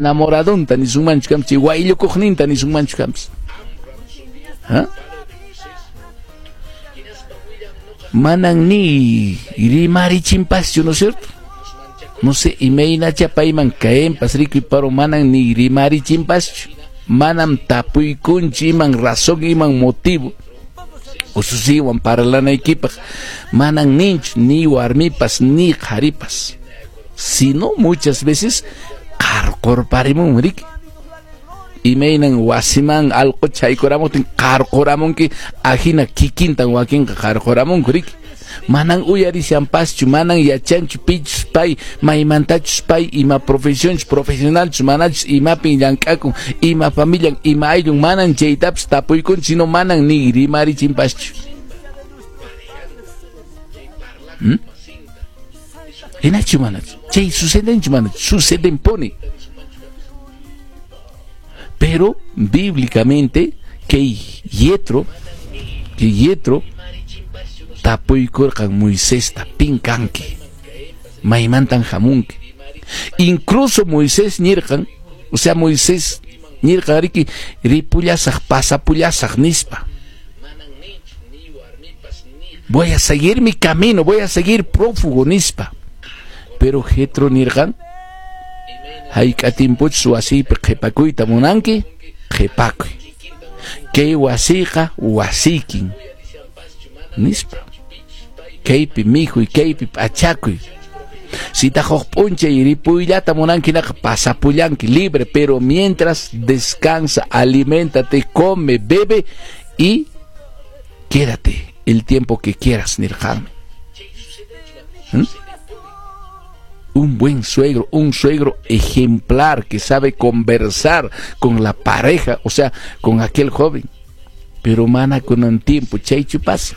Enamoradonta nisunmanchu kanpis, chay wayllukuqninta nisunmanchu kanpis. ¿Ha? Manan ni rimarichinpaschu, ¿no es cierto? No sé, imaynacha payman caenpas rikuy, pero manan ni rimarichinpaschu. Manam tapuykunchu iman razón, iman motivo. Ususiwan parlanaykipaq manan ninchu ni warmipas ni qharipas. Sino muchas veces qarqurparimun riki. Imaynan wasiman allqucha haykuramuptin qarquramunki, ajina kikintan wakinqa qarquramunku riki. Manan uyarishanpaschu, manan yachanchu pichus pay, maymantachus pay, ima profesionchus, profesionalchus, manachus, imapin llank'akun, ima familian, ima ayllun, manan chaytapas tapuykunchu, sino manan ni rimarichinpaschu. ¿Mm? Hinachu manachu? Chay sucedenchu manachu? Sucedenpuni. Pero bíblicamente kay Yetro tapuykurqan Moisesta, pin kanki, maymantan hamunki. Incluso Moisés nirqan, o sea, Moisés nirqan riki ripullasaq, pasapullasaq nispa. Voy a seguir mi camino, voy a seguir prófugo nispa. Pero Jetro nirqan, hayk'a timpuchus wasiypi qhipakuyta munanki, qhipakuy. Kay wasiyqa wasiykin nispa. Kaypi mikhuy, kaypi p'achakuy. Sitaq huk p'unchay ripuyllata munanki naqa pasapullanki libre, pero mientras descansa, aliméntate, come, bebe y quédate el tiempo que quieras, nirqanmi. ¿Mm? Un buen suegro, un suegro ejemplar que sabe conversar con la pareja, o sea, con aquel joven. Pero mana con un tiempo, chaychu pasa.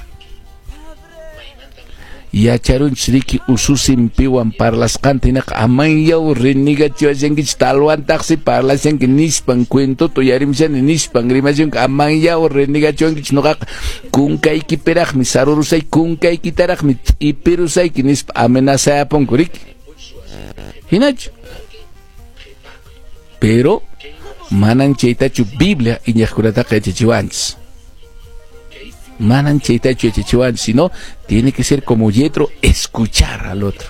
Yacharunchis riki ususin piwan parlasqanta hinaqa amanyaw renegachiwashankichis talwantaqsi parlashanki nispan cuentoto uyarimshani nispan rimashanki amanyaw renegachiwankichis noqaqa kunkaykipiraqmi sarurusayki kunkaykitaraqmi t'ipirusayki nispa amenazayapunku riki. Hinachu. Pero manan chaytachu Biblia iñaqkunataqa yachachiwanchis. Manan chaytachu yachachiwanchis, sino tiene que ser como Yetro, escuchar al otro.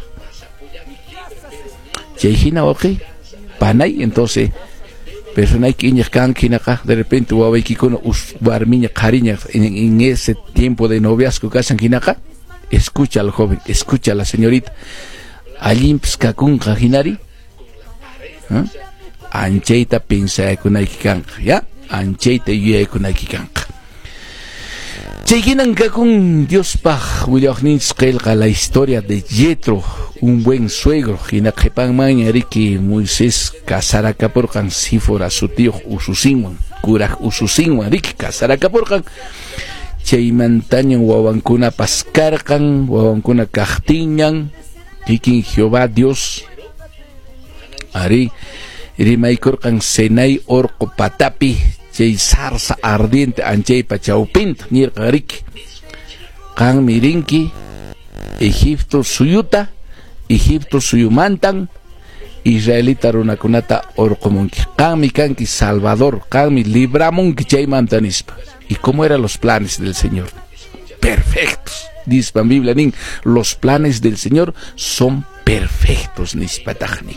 Chay hina wawqi, panay, entonces personayki iñaq kanki hinaqa de repente wawaykikuna warmiña qhariña en ese tiempo de noviazgo kashan hinaqa, escucha al joven, escucha a la señorita. Allinpis kakunqa hinari, ¿eh? Anchayta pinsaykunayki kanqa, ya? Anchayta yuyaykunayki kanqa. Chay hinan kakun Diospaq willawaqninchis qillqa la historia de Yetro, un buen suegro. Hina qhipanmanña riki Moisés kasarakapurqan Sífora sutiyuq ususinwan, kuraq ususinwan riki kasarakapurqan. Chaymantañan wawankunapas karqan, wawankuna kaqtinñan kikin Jehová Dios ari rimaykurqan Senai orqo patapi chay zarza ardiente anchaypa chawpinta nirqan riki qanmi rinki Egipto suyuta, Egipto suyumantan israelita runakunata orqomunki, qanmi kanki Salvador, qanmi libramunki chaymanta nispa. ¿Y cómo eran los planes del Señor? Perfectos. Nispa Biblia nin, los planes del Señor son perfectos nispataqni.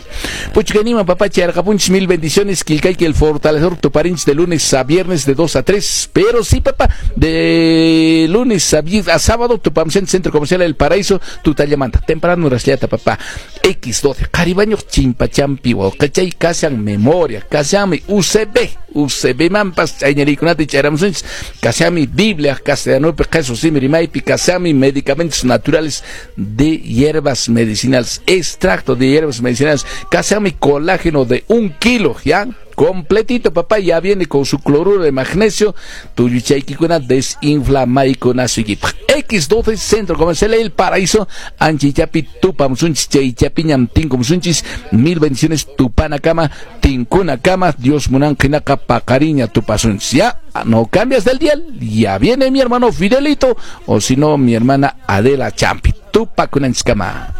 Puchkanima papachi arqapunchis, mil bendiciones, Quilcayqui el fortalecedor tuparinch de lunes a viernes de 2 a 3, pero sí papá, de lunes a sábado tupamsen Centro Comercial El Paraíso, tutallamanta, temprano rasliata papá, X12, Caribaño chimpachampi, wauqachay kashan memoria, kashanmi UCB, UCB mampas, chayñarikunata chayramusunchis, kashanmi Biblia, castellanopi, qhichwa simi rimaypi, kashanmi medicamentos naturales de hierbas medicinales, extracto de hierbas medicinales, kashanmi colágeno de 1 kilo, ya, completito papá, ya viene con su cloruro de magnesio, tuyuchaykikuna desinflamaykunasuykipaq. X12 Centro Comercial El Paraíso, Anchichapi tupamsunchis, chaychapiñam tinkumsunchis, mil bendiciones tupanakama, tinkunakama, Dios munanqinaqa paqariña tupasunchis. Ya, no cambias del dial, ya viene mi hermano Fidelito, o si no mi hermana Adela Champi, tupakunanchiskama.